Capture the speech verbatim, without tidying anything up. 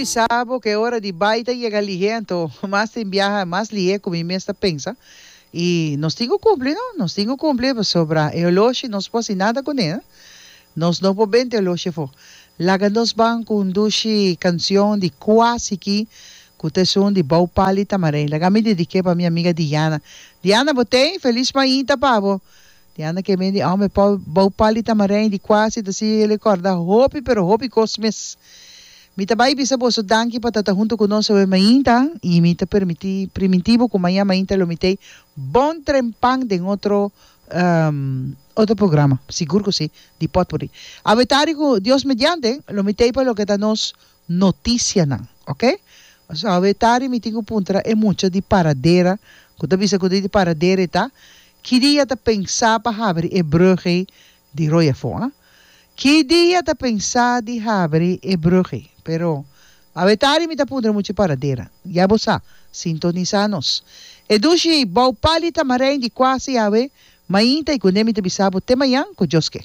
Bisa bo ku ora di bai ta yega lihé, anto mas tin biaha mas lihé ku mi mes ta pensa. I nos tin ku kumpli, no? Nos tin ku kumpli pasobra e oloshi nos por hasi nada kuné. Nos no por benta e oloshi afó. Laga nos ban ku un dushi kanshon di Kwasi ki ku ta esun di Bou Pali Tamarijn. Laga mi dedik'é pa mi amiga Diana. Diana, bo t'ei? Felis mainta pa bo. Diana ke men di homber Bou Pali Tamarijn di Kwasi ta sigui rekòrda hopi pero hopi kos mes. Mi ta bai bisa boso danki pa ta ta huntu ku nos awe mainta i mi ta permití primintí bo ku mañan mainta lo mi t'ei bon trempan den otro otro programa, sigur ku si, di Potpourri. Awe tardi ku Dios mediante lo mi t'ei pa loke ta nos notisianan, oke. Pasobra awe tardi mi tin ku puntra e mucha di Paradera ku ta bisa ku ta di Paradera e ta, ki dia ta pensa pa habri e brug ei di Rooi afó, a? Ki dia ta pensa di habri e brug ei? Pero, awe tardi mi ta puntra mucha Paradera. Ya bo sa, sintonisa nos. E dushi bou pali tamarijn di Kwasi awe mainta i kuné mi ta bisa bo te mañan ku Dios ke.